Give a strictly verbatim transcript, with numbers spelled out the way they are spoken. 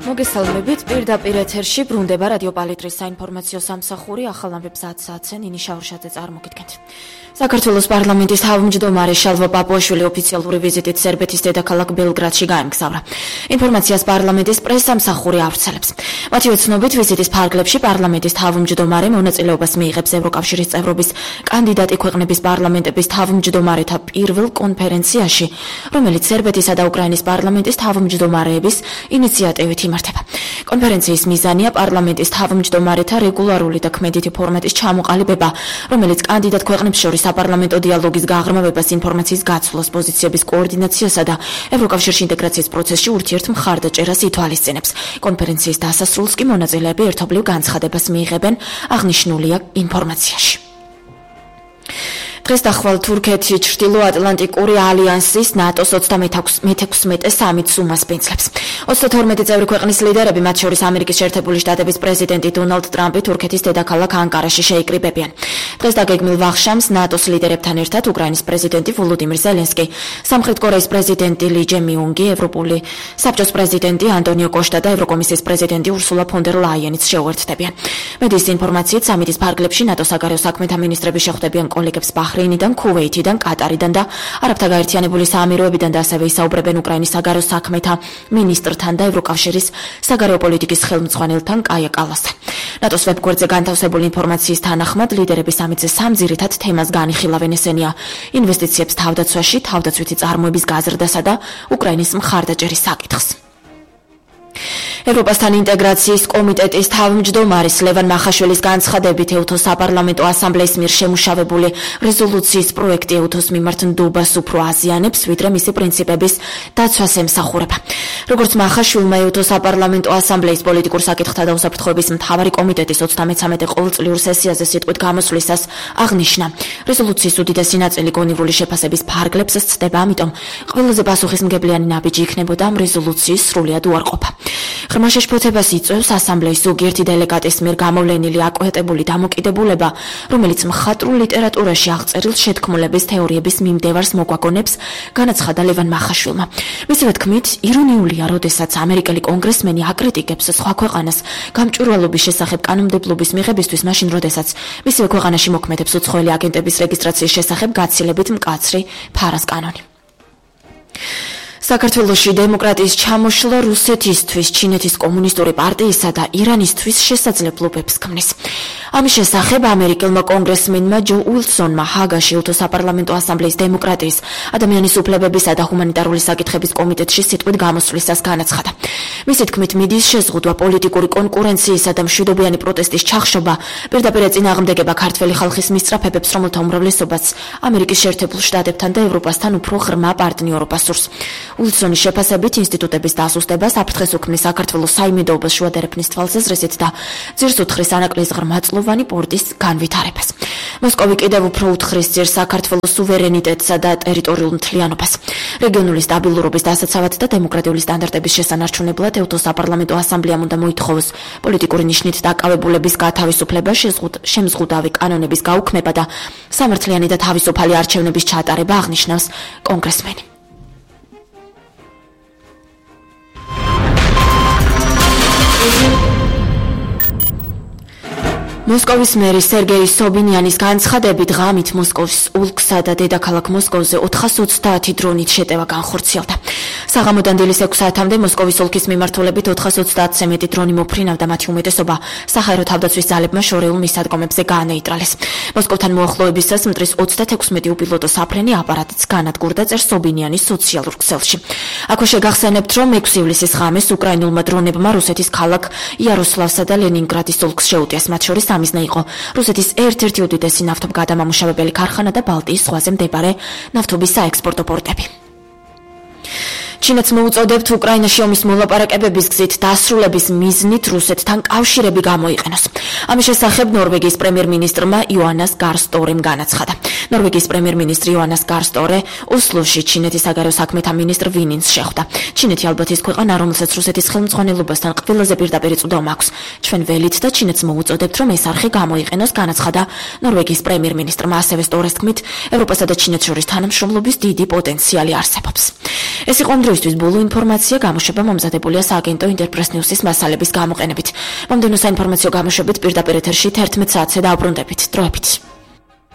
მოგესალმებით, პირდაპირ ეთერში ბრუნდება რადიო პალიტრის საინფორმაციო სამსახური, ახალ ამბებს ათ საათზე ნინი შაურშაძე წარმოგიდგენთ. საქართველოს პარლამენტის თავმჯდომარე შალვა პაპუაშვილი ოფიციალური ვიზიტით სერბეთის დედაქალაქ ბელგრადში გაემგზავრა. ინფორმაციას პარლამენტის პრესსამსახური ავრცელებს. მათი ცნობით, ვიზიტის ფარგლებში პარლამენტის თავმჯდომარე მონაწილეობას მიიღებს ევროკავშირის წევრობის კანდიდატი ქვეყნების პარლამენტების თავმჯდომარეთა პირველ კონფერენციაში, რომელიც სერბეთისა და უკრაინის პარლამენტის თავმჯდომარეების ინიციატივით იმართება. კონფერენციის მიზანია პარლამენტის თავმჯდომარეთა რეგულარული და ქმედითი ფორმატის ჩამოყალიბება, რომელიც კანდიდატ ქვეყნებს შორის საპარლამენტო დიალოგის გაღრმავებას, ინფორმაციის გაცვლას, პოზიციების კოორდინაციასა და ევროკავშირში ინტეგრაციის პროცესში ურთიერთ მხარდაჭერას ითვალისწინებს. კონფერენციის დასასრულს კი მონაწილეები ერთობლივ განცხადებას მიიღებენ, აღნიშნულია ინფორმაციაში. დღეს დახვალ თურქეთი ჩრდილოატლანტიკური ალიანსის ნატოს ოცდამეთექვსმეტე სამიტს უმასპინძლებს. ოცდათორმეტი წევრი ქვეყნის ლიდერები, მათ შორის ამერიკის შეერთებული შტატების პრეზიდენტი დონალდ ტრამპი, თურქეთის დედაქალაქ ანკარაში შეიკრიბებიან. დღეს დაგეგმილ ვახშამს ნატოს ლიდერებთან ერთად უკრაინის პრეზიდენტი ვოლოდიმირ ზელენსკი, სამხრეთ კორეის პრეზიდენტი ალი ჯემიუნგი, ევროპული საბჭოს პრეზიდენტი ანტონიო კოშტა და ევროკომისიის პრეზიდენტი ურსულა ფონ დერ ლაიენიც შეუერთდებიან. მედიის ინფორმაციით, სამიტის ფარგლებში ნატოს საგარეო საქმეთა მინისტრები შეხვდებიან კოლეგებს ბაჰრეინიდან, ქუვეითიდან, კატარიდან და არაბთა გაერთიანებული საამიროებიდან და ასევე ისაუბრებენ უკრაინის საგარეო საქმეთა მინისტრთან და ევროკავშირის საგარეო პოლიტიკის ხელმძღვანელთან კაია კალასთან. ნატოს ვებგვერდზე განთავსებული ინფორმაციის თანახმად, ლიდერები სამიტზე სამ ძირითად თემას განიხილავენ, ესენია ინვესტიციებს თავდაცვაში, თავდაცვითი წარმოების გაზრდასა და უკრაინის მხარდაჭერის საკითხს. ევროპასთან ინტეგრაციის კომიტეტის თავმჯდომარის ლევან მახაშვილის განცხადებით, ეუთოს საპარლამენტო ასამბლეის მიერ შემუშავებული რეზოლუციის პროექტი ეუთოს მიმართ ნდობას უფრო აზიანებს, ვიდრე მისი პრინციპების დაცვას ემსახურება. როგორც მახაშვილმა ეუთოს საპარლამენტო ასამბლეის პოლიტიკურ საკითხთა და უსაფრთხოების მთავარი კომიტეტის ოცდამეცამეტე ყოველწლიურ სესიაზე სიტყვით გამოსვლისას აღნიშნა, რეზოლუციის უდიდესი ნაწილი გონივრული შეფასების ფარგლებს სცდება, ამიტომ ყველაზე პასუხისმგებლიანი ნაბიჯი იქნებოდა ამ რეზოლუციის სრულიად უარყოფა. ღრმა შეშფოთებას იწვევს ასამბლეის ზოგიერთი დელეგატის მიერ გამოვლენილი აკვეთებული დამოკიდებულება, რომელიც მხატვრულ ლიტერატურაში აღწერილ შეთქმულების თეორიების მიმდევარს მოგვაგონებს, განაცხადა ლევან მახაშვილმა. მისივე თქმით, ირონიულია, როდესაც ამერიკელი კონგრესმენი აკრიტიკებს სხვა ქვეყანას გამჭვირვალობის შესახებ კანონმდებლობის მიღებისთვის, მაშინ როდესაც მისივე ქვეყანაში მოქმედებს უცხოელი აგენტების რეგისტრაციის შესახებ გაცილებით მკაცრი ფარას კანონი. საქართველოში დემოკრატიის ჩამოშლა რუსეთისთვის, ჩინეთის კომუნისტური პარტიისა და ირანისთვის შესაძლებლობებს ქმნის. ამის შესახებ ამერიკელმა კონგრესმენმა ჯო უილსონმა ჰაგაში ეუთოს საპარლამენტო ასამბლეის დემოკრატიის, ადამიანის უფლებებისა და ჰუმანიტარული საკითხების კომიტეტში სიტყვით გამოსვლისას განაცხადა. მისი თქმით, მიდიის შეზღუდვა, პოლიტიკური კონკურენციისა და მშვიდობიანი პროტესტის ჩახშობა, პირდაპირ ეწინააღმდეგება ქართველი ხალხის მისწრაფებებს, რომელთა უმრავლესობაც ამერიკის შეერთებულ შტატებთან და ევროპასთან უფრო ღრმა პარტნიორობას სურს. უილსონის შეფასებით, ინსტიტუტების დასუსტებას აფრთხეს უქმნის საქართველოს საიმედოობას შუადერეფნის თვალსაზრისით და ძირს უთხრის ანაკლიის ღრმაწლოვანი პორტის განვითარებას. მოსკოვი კიდევ უფრო უთხრის ძირს საქართველოს სუვერენიტეტსა და ტერიტორიულ მთლიანობას. რეგიონული სტაბილურობის დასაცავად და დემოკრატიული სტანდარტების შესანარჩუნებლად ეუთოს საპარლამენტო ასამბლეამ უნდა მოითხოვოს პოლიტიკური ნიშნით დაკავებულების გათავისუფლება, შემზღუდავი კანონების გაუქმება და სამართლიანი და თავისუფალი არჩევნების ჩატარება, აღნიშნავს კონგრესმენი. მოსკოვის მერი სერგეი სობინიანის განცხადებით, ღამით მოსკოვის ოლქსა და დედაქალაქ მოსკოვზე ოთხას ოცდაათი დრონით შეტევა განხორციელდა. საღამოდან დილის ექვს საათამდე მოსკოვის ოლქის მიმართულებით ოთხას ოცდაათზე მეტი დრონი მოფრინავდა, მათი უმეტესობა საჰაერო თავდაცვის ძალებმა შორეულ მისადგომებზე გაანეიტრალეს. მოსკოვთან მოახლოებისას მტრის ოცდათექვსმეტი უპილოტო საფრენი აპარატიც განადგურდა, წერს სობინიანის სოციალურ ქსელში. აქვე შეგახსენებთ, რომ ექვსი ივლისის ღამეს უკრაინულმა დრონებმა რუსეთის ქალაქ იაროსლავსა და ლენინგრადის ოლქს შეუტიეს, მათ შორის ამიზნე იყო რუსეთის ერთ-ერთი უდიდესი ნავთობგადამამუშავებელი ქარხანა და ბალტიის ზღვაზე მდებარე ნავთობის საექსპორტო პორტები. ჩინეთს მოუწოდებთ უკრაინაში ომის მოლაპარაკებების გზით დასრულების მიზნით რუსეთთან კავშირები გამოიყენოს. ამის შესახებ ნორვეგიის პრემიერ-მინისტრმა იოანას გარსტორემ განაცხადა. ნორვეგიის პრემიერ-მინისტრი იოანას გარსტორე ოსლოში ჩინეთის საგარეო საქმეთა მინისტრ ვინინს შეხვდა. ჩინეთი ალბათ ის ქვეყანა, რომელსაც რუსეთის ხელმძღვანელობასთან ყველაზე პირდაპირ წვდომა აქვს. ჩვენ ველით და ჩინეთს მოუწოდებთ, რომ ეს არხი გამოიყენოს, განაცხადა ნორვეგიის პრემიერ-მინისტრმა. ასევე სტორის თქმით, ევროპასა და ჩინეთს შორის თანამშრომლობის დიდი პოტენციალი არსებობს. ეს იყო დროისთვის ბოლო ინფორმაცია გამოშვება მომზადებულია სააგენტო ინტერპრეს ნიუსის მასალების გამოყენებით. მომდევნო საინფორმაციო გამოშვებით პირდაპირ ეთერში თერთმეტ საათზე დაუბრუნდებით. დროებით.